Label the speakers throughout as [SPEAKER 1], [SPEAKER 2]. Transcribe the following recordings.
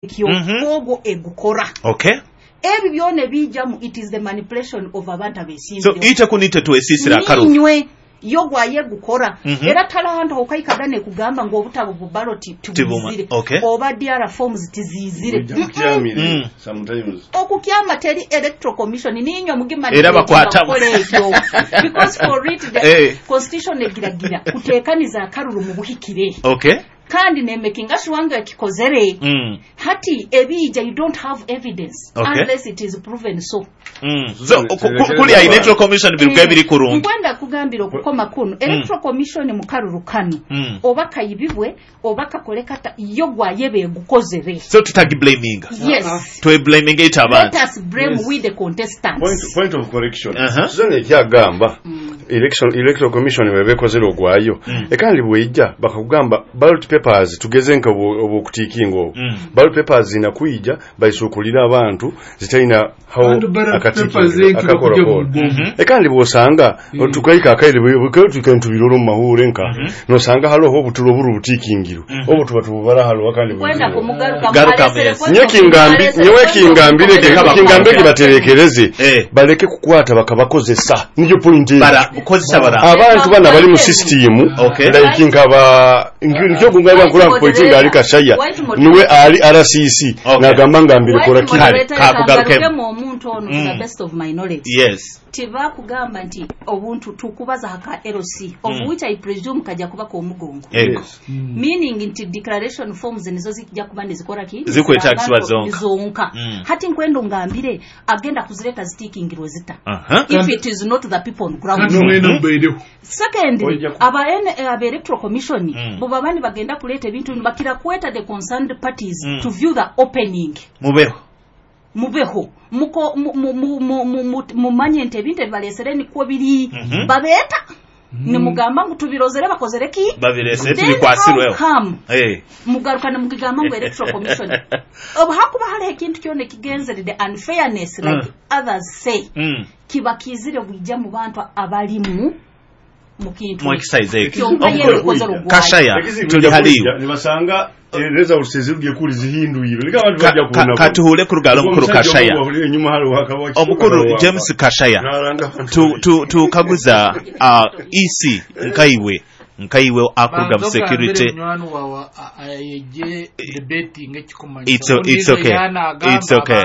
[SPEAKER 1] Ekyo ogwo egukora. Ebi byona ebiijamu, it is the manipulation of abantu
[SPEAKER 2] So
[SPEAKER 1] abeesimbyeho.
[SPEAKER 2] ite kunite twesiisire akaruru.
[SPEAKER 1] Niinywe yo gwayegukora. Era taliho hantu hokaikaga nekugamba ngu obutabo bu ballot tibwizire oba DR forms tiziizire.
[SPEAKER 3] Ojja kukyamire sometimes.
[SPEAKER 1] Okukyama teri Electoral Commission, niinywe
[SPEAKER 2] Era
[SPEAKER 1] mugimanipulatinga
[SPEAKER 2] bakwata
[SPEAKER 1] kukora ekyo, because for it the constitution egiragira kuteekaniza akaruru mu buhikire. Kandi nemakinga sure ngu ekikozere. Hati ebiija, you don't have evidence unless it is proven so.
[SPEAKER 2] So kuli ya Electoral Commission biruga ebiri kurungi.
[SPEAKER 1] Nkwenda kugambira okukoma kunu, Electoral Commission mu karuru kanu, oba kayibibwe oba kakole kata, yo gwayeba egukozere.
[SPEAKER 2] So tutagiblaminga.
[SPEAKER 1] Yes.
[SPEAKER 2] Tweblaminga ite
[SPEAKER 1] Let
[SPEAKER 2] abantu.
[SPEAKER 1] us blame we the contestants.
[SPEAKER 3] Point of correction. Suzanne ekyagamba election electoral commission bweba ekozere ogwayo, ekandi bweija bakakugamba ballot papers, tugeze nka obwokutikinga obwo, ballot papers zina kwija baisukulira abantu zitalina how
[SPEAKER 4] Kandi ballot
[SPEAKER 3] akatikinga
[SPEAKER 4] papers enkiro
[SPEAKER 3] akakora
[SPEAKER 4] kujya
[SPEAKER 3] kola.
[SPEAKER 4] mu mugongo.
[SPEAKER 3] Ekandi bwosanga tukaika akaire bwe tukaita tubiroro mu mahure nka nosanga haloho obutulo oburu butikingirwe obu tuba tububara haloho kandi
[SPEAKER 1] Nkwenda
[SPEAKER 3] buzire.
[SPEAKER 1] kumugaruka.
[SPEAKER 2] Garuka
[SPEAKER 1] muhalesere
[SPEAKER 2] yes.
[SPEAKER 1] point
[SPEAKER 3] Nyewe
[SPEAKER 1] of
[SPEAKER 3] kingambi
[SPEAKER 1] muhalesere
[SPEAKER 3] nyewe
[SPEAKER 1] point of
[SPEAKER 3] kingambire
[SPEAKER 1] information.
[SPEAKER 3] kingambire baterekereze baleke kukwata bakabakozesa, niyo point eyo.
[SPEAKER 2] Bara kozesa bara.
[SPEAKER 3] Abantu bana bali mu system like nkaba nkyo kungaba nkula point nga ali Kashaya
[SPEAKER 1] White
[SPEAKER 3] niwe ali RCC nagamba ngambire
[SPEAKER 1] White
[SPEAKER 3] kola kiri.
[SPEAKER 1] moderator,
[SPEAKER 2] Kakugarukemu.
[SPEAKER 1] kangarukemu omuntu ono to the best of my knowledge. Tibakugamba nti obuntu tukubaza haka LC, of which I presume kajja kuba k'omugongo.
[SPEAKER 2] Ego.
[SPEAKER 1] Meaning nti declaration forms nizo zijja kuba nizikora ki?
[SPEAKER 2] Zikwetagisibwa zonka.
[SPEAKER 1] Zonka. Hati nkwenda ongambire agenda kuzireta zitikingirwe zita if it is not the people on ground?
[SPEAKER 4] Kandi mwena mubaireho.
[SPEAKER 1] Secondly,
[SPEAKER 3] Ojja
[SPEAKER 1] aba Electoral Commission bo baba nibagenda kuleeta ebintu bino, bakira kweta the concerned parties to view the opening.
[SPEAKER 2] Mubeho.
[SPEAKER 1] Mubeho muko mumanye nti ebintu ebibalesere nikwo biri. Babeeta nimugamba ngu tubirozere bakozere ki?
[SPEAKER 2] Babirese
[SPEAKER 1] Then
[SPEAKER 2] tubikwasirweho.
[SPEAKER 1] how come mugaruka nimugigamba ngu Electoral Commission, obu hakuba hariho ekintu kyona ekigenzerere unfairness like others say, kiba kizire bwijja mu bantu abalimu mu kintu
[SPEAKER 2] Mu exercise ekyo.
[SPEAKER 1] Kyonka ye
[SPEAKER 2] Omukulu
[SPEAKER 1] ebikozere ogwayo.
[SPEAKER 2] Kashaya
[SPEAKER 3] Ekizibu
[SPEAKER 2] tuli
[SPEAKER 3] kijja
[SPEAKER 2] haliyo.
[SPEAKER 3] kujja, nibasanga results ezirugye kuli zihindwire leka abantu bajja kubona.
[SPEAKER 2] Katuhule kurugala omukulu
[SPEAKER 3] Omusajja
[SPEAKER 2] Kashaya.
[SPEAKER 3] omu wahulire enyuma hali
[SPEAKER 2] Omukulu James Kashaya.
[SPEAKER 3] Nalanga abantu.
[SPEAKER 2] Tukaguza EC nkaiwe akuruga mu security.
[SPEAKER 4] Munywani wawe ayegye debating ekikumanyisa.
[SPEAKER 2] It's okay. It's okay.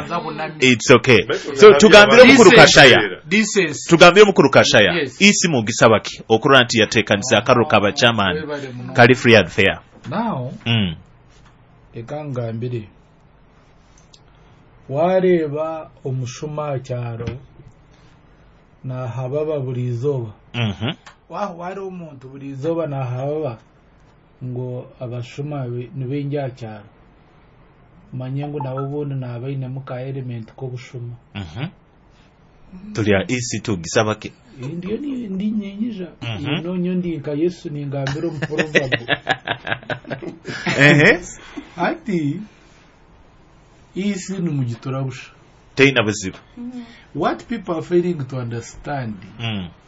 [SPEAKER 2] It's okay. So
[SPEAKER 3] Baitu
[SPEAKER 2] tugambire omukulu
[SPEAKER 4] Decency.
[SPEAKER 2] Kashaya.
[SPEAKER 4] Decency.
[SPEAKER 2] Tugambire omukulu Kashaya.
[SPEAKER 4] Yes.
[SPEAKER 2] EC mugisaba ki okurora nti yateekanisa akaruru ka bachairman
[SPEAKER 4] Webale muno.
[SPEAKER 2] kali free and fair?
[SPEAKER 4] Now reka ngambire, wareeba omushuma aha kyaro nahababa buri izooba, wahwara omuntu buri izooba nahababa ngu abashuma nibaingi aha kyaro, manye ngu nabo obundi naaba ainemu ka element k'obushuma.
[SPEAKER 2] Tuli ya EC tugisaba ki?
[SPEAKER 4] Ndiyo ndi nyenyija nonyo ndi nka Yesu ningambira omu proverb. Ati isi nimugitura busha.
[SPEAKER 2] Teina buzibu.
[SPEAKER 4] What people are failing to understand,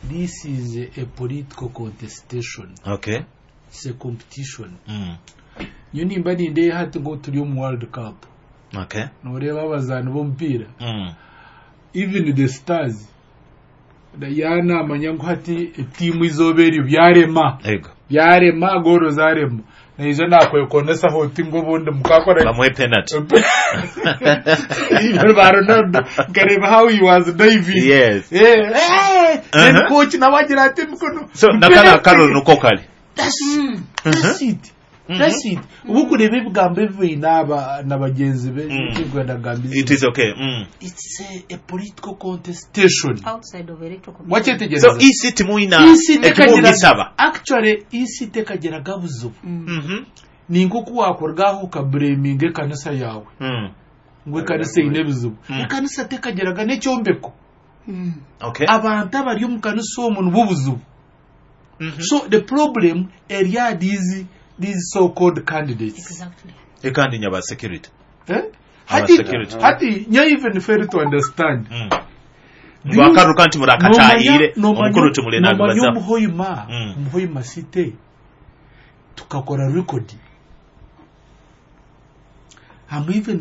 [SPEAKER 4] this is a political contestation. It's a competition. Nyo nimba nindeeha hati ngu turi omu World Cup, noreeba abazaani b'omupiira, even the stars yanamanya ngu hati etiimu izooba eryo byarema.
[SPEAKER 2] Ego.
[SPEAKER 4] Byarema, gooro zarema, naija nakwekonesaho oti ngu obundi mukakora
[SPEAKER 2] Bamuhe penalty.
[SPEAKER 4] Even ba Ronaldo nkareba how he was diving. Then coach nawe agira ati emikono.
[SPEAKER 2] So nakana akaruru nuko kali.
[SPEAKER 4] That's it. That's it. Ubu kureba ebigambo ebi baine aba na bagenzi be, kwenda kugamba
[SPEAKER 2] It is okay.
[SPEAKER 4] It's a political contestation.
[SPEAKER 1] Outside of Electoral Commission.
[SPEAKER 4] Wakyetegereza?
[SPEAKER 2] So EC timuina
[SPEAKER 4] Isi
[SPEAKER 2] ekimugisaba.
[SPEAKER 4] Actually isi tekagiraga buzibu. Ni nk'oku wakurugaho okablaminga ekanisa yawe ngu ekanisa eine ebizibu. Ekanisa tekagiraga n'ekyombeko. Abantu abari omu kanisa omwo nibo buzibu. So the problem eri aha these so called candidates.
[SPEAKER 2] Ekandi nyaba security.
[SPEAKER 4] Eh? Hati,
[SPEAKER 2] Security.
[SPEAKER 4] hati nyo even fail to understand.
[SPEAKER 2] Ngo akaruka nti murakatayire omukuru tumule
[SPEAKER 4] nomanya
[SPEAKER 2] nabibaza.
[SPEAKER 4] Omuhoima, omuhoima site tukakora record. I'm even